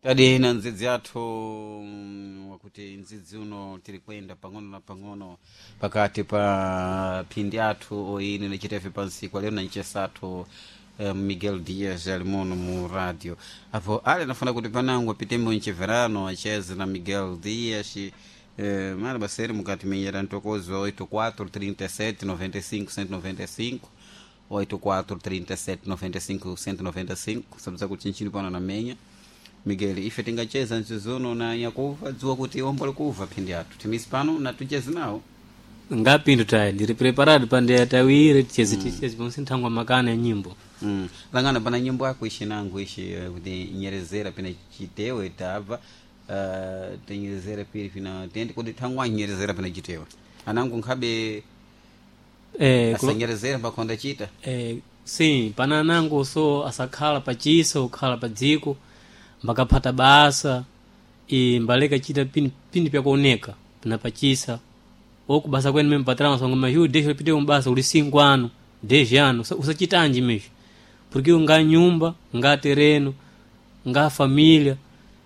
Tadi na ndzidzi athu wakuti ndzidzi uno tiri kuyenda pang'ono na pang'ono pakati pa phindi athu oine nachitefe pansiku lero na ncesathu Miguel Dias ali muno mu radio apo ale nafuna kuti panango apitembo mcheverano acheze na Miguel Dias mara baseri mukati menyera ntokozo wa 84 37 95 195 84 37 95 195 sabza kuti nchini pano na menya Miguel ife tingacheza nzizuno na nyakuva dziwa kuti ombo likuva phindi athu timisi pano na tucheze nawo ngapindu tayi ndiri preparado pande tawire ticheze ticheze ponse nthangwa makana ya nyimbo. Langana pana nyimbo yako ishi nangu ishi kuti nyerezera pina chitewe tabva tinyerezera pili pina tende kuti thangwa nyerezera pina chitewe anangu nkhabe asanyerezera mbakhonda chita. Sim, pana anango so asakhala pachisa ukhala pa dziko mbakaphata basa e mbaleka chita pini, pini pyakuoneka pina pachisa okubasa kwene meme patrão songo mas yu deixa pite um basa uli 5 anos 10 anos usachitanji mesmo porque nga nyumba nga terreno nga família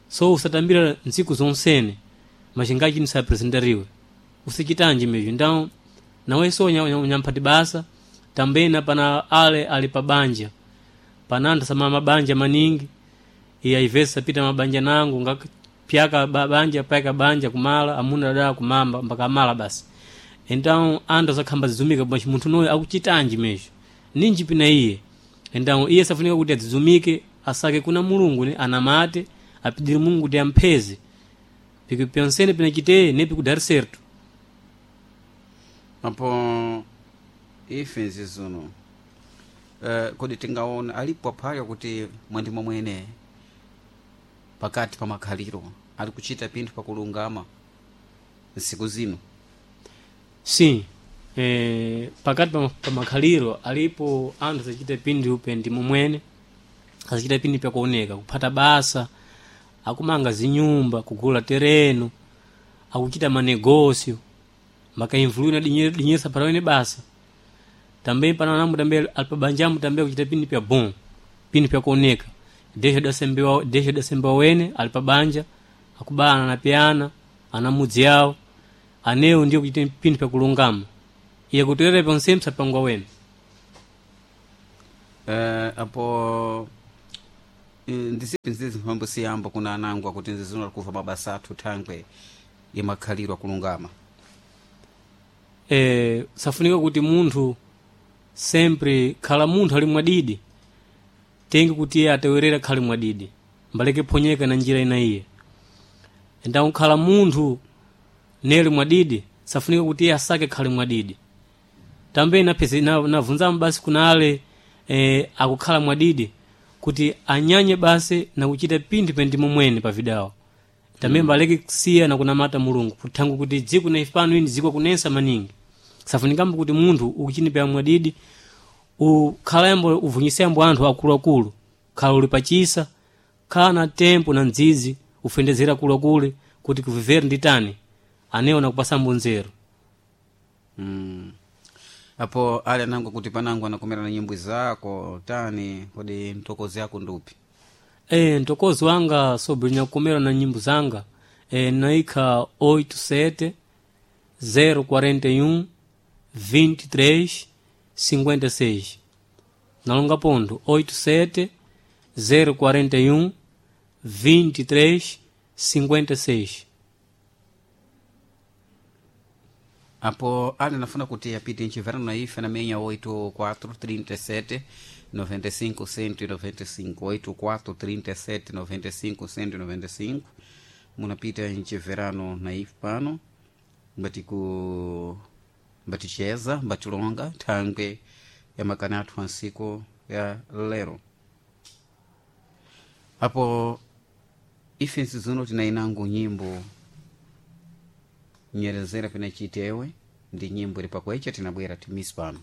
so usatambira ntsiku zonsene mas ngachi nisapresentariwe usachitanji mesmo. Então nawe so nyamphati basa também na pana ale ali pa banja pananda sama mabanja maningi e às vezes sapita mabanja nangu nga pyaka banja pyaka banja kumala amuna dada kumamba mpaka mala basi. Então ando zakhamba zizumika basi munthu noyo akuchitanji mesmo ninji pina iye. Então iye safunika kuti adzizumike asake kuna mulungu ne anamate apidire mulungu kuti ampheze piki pyonsene pina chiteye nepi kudari certo. Apo ife nzizuno kodi tingaona alipo aphaya kuti mwandimo mwene pakati pa makhaliro ali kuchita pinthu pakulungama nsiku zino? Sim, pakati pa makhaliro alipo anthu asachita pinthu pendi momwene asachita pinthu pyakuoneka kuphata basa akumanga zinyumba kugula tereno akuchita manegócio makainfluir na dinheiro dinheiro sapara basa também para namu também alpabanjamu também kuchita pinthu pya bom pinthu pyakuoneka deixa dasembewa deixa dasembewa wene alipabanja akubana na piana ana mudzi yawo anewo ndiyo kuchita pinthu pyakulungama iye kutoera ponsempsa sapangwa wene. Apo ndisipi nzizi mphambo siyamba kuna anangu akuti nzizuno alikuva mabasa athu thangwe imakhaliro akulungama. Safunika kuti munthu sempre khala munthu ali mwadidi tenge kuti iye atewerera khali mwadidi mbaleke phonyeka na njira ina iye. Então khala munthu nele mwadidi safunika kuti iye asake khali mwadidi tambe napese navunzamu basi kuna ale akukhala mwadidi kuti anyanye basi na kuchita pinthu pendimo mwene pa vidawo tambe mbaleke kusiya na kunamata mulungu kuthangu kuti dziko na ifano ini dziko kunensa maningi safunikambo kuti munthu ukuchini pya mwadidi ukhalambo uvunyisiyambo anthu akuluakulu khala uli pachisa khala na tempo na ndzizi ufendezera akuluakulu kuti kuvivere ndi tani anewo nakupasambo nzeru. Apo ale anangu kuti panangu anakomera na nyimbo zako tani kodi mtokozi yako ndupi? Mtokozi wanga sobre nyakukomera na nyimbo zanga naikha 87 041 23 56 nalonga pontho 87 041 23 56. Apo ale nafuna kuti apite nchiverano na ife na menya 84 37 95 195 84 37 95 195 munapita nchiverano na ife pano mbati ku mbaticheza mbatilonga thangwe ya makana athu ansiku ya lero. Apo ife nsizuno tinainango nyimbo nyerezera pina chitewe ndi nyimbo ili pakwecha tinabwera timisi pano.